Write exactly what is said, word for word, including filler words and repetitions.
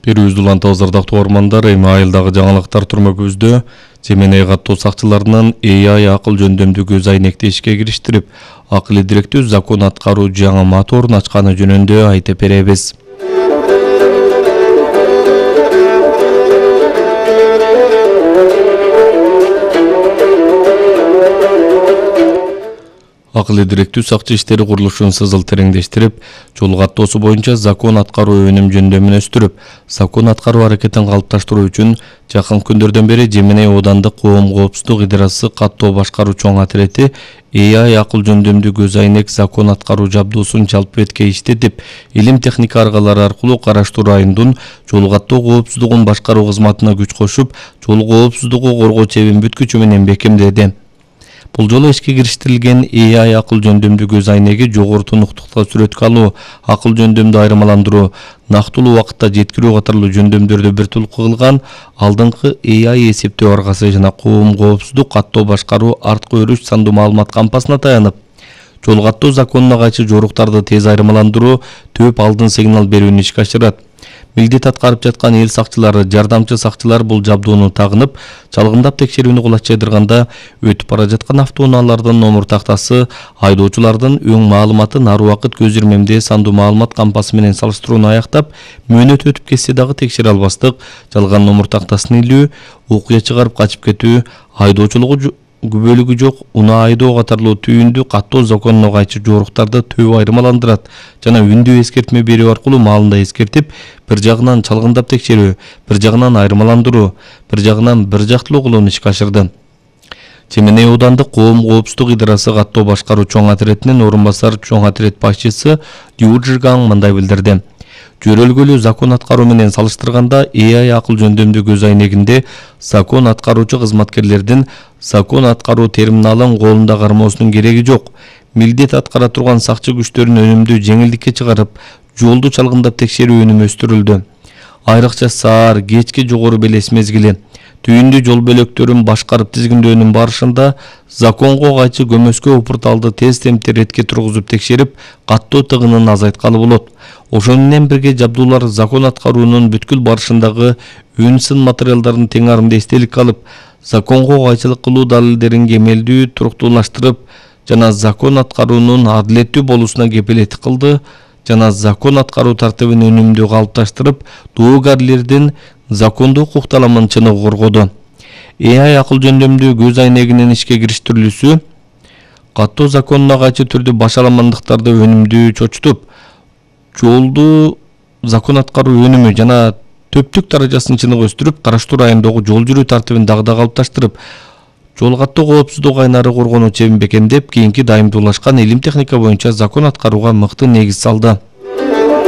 Берүүбүздү улантабыз ардактуу угармандар. Эми айылдагы жаңылыктар турмөгүбүздө Жеменей каттоо сакчыларынын A I акыл жөндөмдүү көз айнекти ишке кириштирип, акыл директүү закон аткаруу жаңы моторун ачканы жөнүндө айтып беребиз. Акыл директүү сакчы иштери курулушун сызыл тереңдештирип, жол каттоосу боюнча закон аткаруу өнүм жөндөмүн өстүрүп, закон аткаруу аракетин калыпташтыруу үчүн жакын күндөрдөн бери Жеменей оодандык коом коопсуздук идарасы каттоо башкаруу чоң отирети A I акыл жөндөмдүү көз айнек закон аткаруу жабдуусун жалпы бетке иштетип, илим техника аргалары аркылуу Караштуу районунун жол каттоо коопсуздугун башкаруу кызматына күч кошуп, жол коопсуздугу коргоо чебин бүткүчү менен бекемдеди. Бул жолу ишке кириштирилген A I акыл жөндөмдүү көз айнеги жогору тунуктукта сүрөткө алуу, акыл жөндөмдү айырмаландыруу, нактылуу убакытта жеткирүү катарлуу жөндөмдөрдү бир тулку кылган алдыңкы A I эсептөө аргасы жана коом коопсуздук каттоо башкаруу арткы өрүш сандуу маалымат кампасына таянып, жол каттоо законуна кайшы жоруктарды тез айырмаландыруу, төп алдын сигнал берүүнү ишке ашырат. Милдет аткарып жаткан эл сакчылары, жардамчы сакчылар бул жабдууну тагынып, чалгындап текшерүүнү кулап жайдырганда өтүп бара жаткан автоунаалардын номер тактасы, айдоочулардын өң маалыматы ар убакыт көз ирмемде сандуу маалымат кампасы менен салыштырууну аяктап, мөөнөт өтүп кетсе дагы текшере албастык, жалган номер тактасын илүү, окуя чыгарып качып кетүү, айдоочулугу күбөлүгү жок унаа айдоо катарлуу түйүндү каттоо законуна кайчы жоруктарды төп айырмаландырат жана үндүү эскертме берүү аркылуу маалында эскертип, бир жагынан чалгындап текшерүү, бир жагынан айырмаландыруу, бир жагынан бир жактылуу кылууну ишке ашырды. Жеменей оодандык коом коопсуздук идарасы каттоо башкаруу чоң отиретинин орун басар чоң отирет башчысы Лю Чжигаң мындай билдирди. Жөрөлгөлүү закон аткаруу менен салыштырганда A I акыл жөндөмдүү көз айнегинде закон аткаруучу кызматкерлердин закон аткаруу терминалын колунда кармоосунун кереги жок. Милдет аткара турган сакчы күчтөрүн өнүмдүү жеңилдикке чыгарып, жолду чалгындап текшерүү өнүмү өстүрүлдү. Айрыкча саар, кечки жогору белес мезгили, түйүндүү жол бөлөктөрүн башкарып тизгиндөөнүн барышында законго кайчы көмөскө упурталды тез темпте ретке тургузуп текшерип, каттоо тыгынын азайткалы болот. Ошону менен бирге жабдуулар закон аткаруунун бүткүл барышындагы өн сын материалдарын тең арымда эстеликке алып, законго кайчылык кылуу далилдерин кемелдүү туруктуулаштырып жана закон аткаруунун адилеттүү болуусуна кепилеттик кылды жана закон аткаруу тартибин өнүмдүү калыпташтырып, доогерлердин закондуу укук таламын чыныгы коргоду. A I акыл жөндөмдүү көз айнегинин ишке кириштирилүүсү каттоо законуна кайчы түрдүү башаламандыктарды өнүмдүү чочутуп, жолду закон аткаруу өнүмү жана төптүк даражасын чыныгы өстүрүп, Караштуу районундагы жол жүрүү тартибин дагы да калыпташтырып, жол каттоо коопсуздук айнары коргонуу чебин бекемдеп, кийинки дайымдуулашкан илим техника боюнча закон аткарууга мыкты негиз салды.